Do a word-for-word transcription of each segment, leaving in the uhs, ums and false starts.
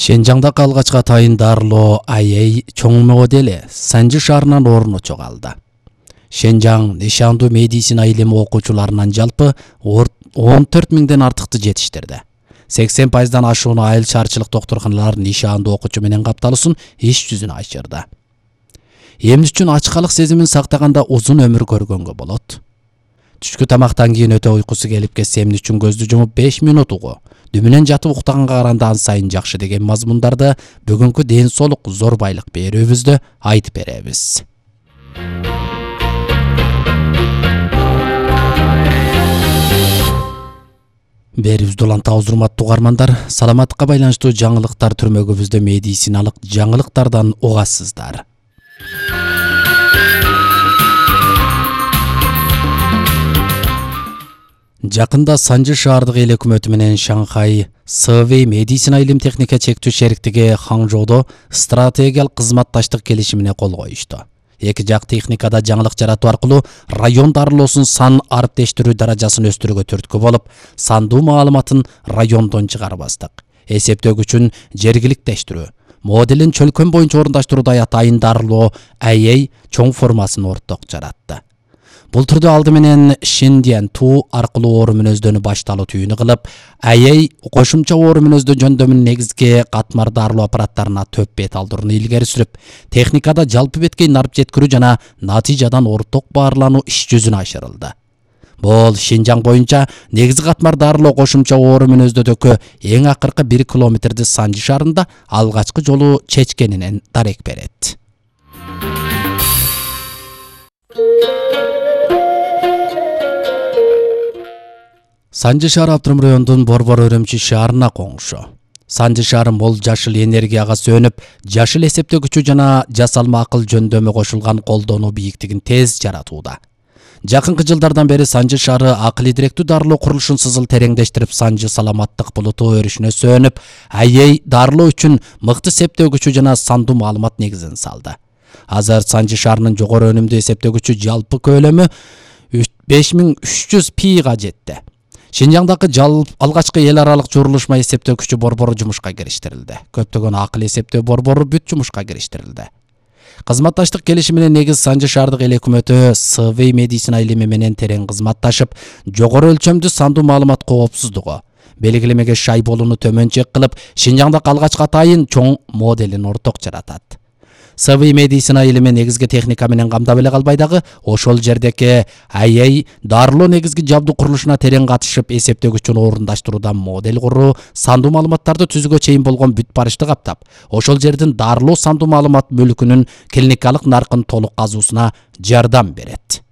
Шенжаңдагы алгачкы атайын дарылоо ай эй чоң модели Санжы шаарынан орночо калды. Шенжаң нишандуу медицина илими окуучуларынан жалпы он төрт миңден артыкты жетиштирди. сексен пайыздан ашууну айыл шаарчылык доктурканалар нишандуу окуучу менен капталуусун иш жүзүнө ашырды. Эмне үчүн ачкалык сезимин сактаганда узун өмүр көргөнгө болот? Түшкү тамактан кийин өтө уйкусу келип кетсе эмне үчүн көздү жумуп беш мүнөт угу, дүмүнөн жатып уктаганга караганда ан сайын жакшы деген мазмундарды бүгүнкү ден соолук зор байлык берүүбүздө айтып беребиз. Берүүбүздү улантабыз, урматтуу угармандар. Саламаттыкка байланыштуу жаңылыктар түрмөгүбүздө медициналык жаңылыктардан угасыздар. Жакында Санжы шаардык эл өкмөтү менен Шанхай Сэвэй медицина илим техника чектүү шериктиги Хаңжоодо стратегиялык кызматташтык келишимине кол коюшту. Эки жак техникада жаңылык жаратуу аркылуу район дарылоосунун сан ариптештирүү даражасын өстүрүүгө түрткү болуп, сандуу маалыматын райондон чыгарбастык, эсептөгүчүн жергиликтештирүү, моделин чөлкөн боюнча орундаштыруудай атайын дарылоо ай эй чоң формасын орток жаратты. Бул түрдө алды менен Шиндиан туу аркылуу оору мүнөздөнү башталуу түйүнү кылып, ай эй кошумча оору мүнөздө жөндөмүнүн негизги катмар дарылоо аппараттарына төп бет алдырууну илгери сүрүп, техникада жалпы бетке нарып жеткирүү жана натыйжадан орток баарлануу иш жүзүнө ашырылды. Бул Шинжаң боюнча негизги катмар дарылоо кошумча оору мүнөздөдөгү эң акыркы бир километрди Санжы шаарында алгачкы жолу чечкенинен дарек берет. Санжы шаары Аптырым районунун Борбор Өрөмчү шаарына коңшу. Санжы шаары мол жашыл энергияга сөнүп, жашыл эсептөгүчү жана жасалма акыл жөндөмү кошулган колдонуу бийиктигин тез жаратууда. Жакынкы жылдардан бери Санжы шаары акыл идиректүү дарылоо курулушун сызыл тереңдештирип, Санжы саламаттык булуту өрүшүнө сөнүп, ай эй дарылоо үчүн мыкты септөгүчү жана сандуу маалымат негизин салды. Азыр Санжы шаарынын жогору өнүмдүү эсептөгүчү жалпы көлөмү беш миң үч жүз пига жетти. Шинжаңдагы жалп алгачкы эл аралык журулушма эсептөөкүчү борбору жумушка кириштирилди. Көптөгөн акыл эсептөө борбору бүт жумушка кириштирилди. Кызматташтык келишимине негиз Санжы шаардык эл өкмөтү Сэвэй медицина илими менен терең кызматташып, жогору өлчөмдүү сандуу маалымат коопсуздугу, белгилемеге шай болууну төмөнчөк кылып, Шинжаңдагы алгачкы атайын чоң моделин орток жаратат. Сэвэй медицина илими негизги техника менен камдап эле калбай дагы, ошол жердеки ай эй дарылоо негизги жабдуу курулушуна терең катышып, эсептөгүчүн орундаштыруудан модель куруу, сандуу маалыматтарды түзүүгө чейин болгон бүт барышты каптап, ошол жердин дарылоо сандуу маалымат мүлкүнүн клиникалык наркын толук казуусуна жардам берет.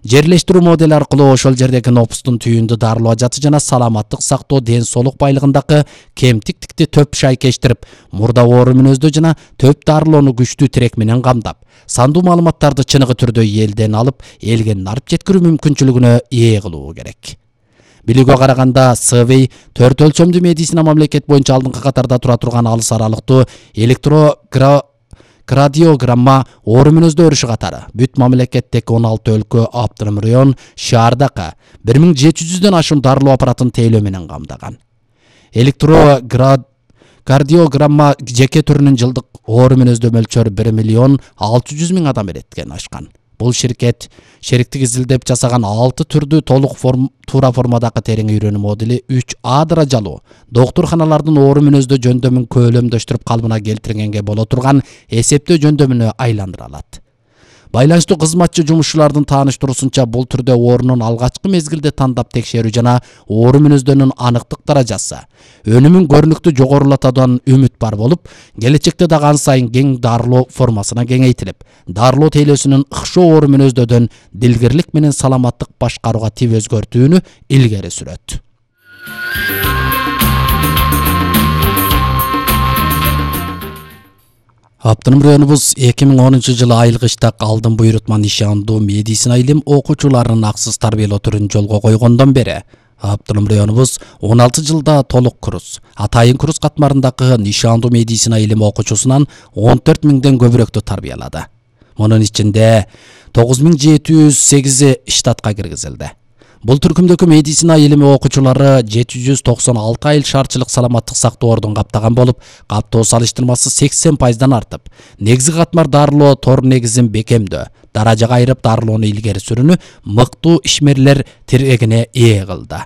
Жерлештирүү модели аркылуу ошол жердеги нопустун түйүндү дарылоо ажаты жана саламаттык сактоо ден соолук байлыгындагы кемтиктикти төп шайкештирип, мурда оору мүнөздө жана төп дарылоону күчтүү тирек менен камдап, сандуу маалыматтарды чыныгы түрдө элден алып, элге нарып жеткирүү мүмкүнчүлүгүнө ээ кылуу керек. Билүүгө караганда, Сэвэй төрт өлчөмдүү медицина мамлекет боюнча алдыңкы катарда тура турган алыс аралыктуу электрогра Кардиограмма оору мүнөздө өрүшү катары бүт мамлекеттеги он алты өлкө, Аптырым район, шаардагы бир миң жети жүздөн ашуун дарылоо аппаратын тейлөө менен камдаган. Электрокардиограмма жеке түрүнүн жылдык оору мүнөздө мөлчөрү бир миллион алты жүз миң адам эреткен ашкан. Бул ширкет шериктик изилдеп жасаган алты түрдүү толук форм, туура формадагы терең үйрөнүү модели үч А даражалуу доктурканалардын оору мүнөздө жөндөмүн көөлөмдөштүрүп калыбына келтиргенге боло турган эсептөө жөндөмүнө айландыра алат. Байланыштуу кызматчы жумушчулардын тааныштыруусунча, бул түрдө оорунун алгачкы мезгилде тандап текшерүү жана оору мүнөздөнүн аныктык даражасы, өнүмүн көрүнүктүү жогорулатуудан үмүт бар болуп, келечекте дагы ан сайын кең дарылоо формасына кеңейтилип, дарылоо тейлөөсүнүн ыкшоо оору мүнөздөдөн дилгирлик менен саламаттык башкарууга тив өзгөртүүнү илгери сүрөт. Аптырым районубуз эки миң онунчу жылы айыл кыштак алдын буйрутма нишандуу медицина илим окуучуларын аксыз тарбиялоо түрүн жолго койгондон бери Аптырым районубуз он алты жылда толук курс, атайын курс катмарындагы нишандуу медицина илим окуучусунан он төрт миңден көбүрөөктү тарбиялады. Мунун ичинде тогуз миң жети жүз сегизи штатка киргизилди. Бул түркүмдөгү медицина илими окуучулары жети жүз токсон алты айыл шаарчылык саламаттык сактоо ордун каптаган болуп, каптоо салыштырмасы сексен пайыздан артып, негизги катмар дарылоо тор негизин бекемдөө, даражага айырып дарылоону илгери сүрүүнү мыктуу ишмерлер тирегине ээ кылды.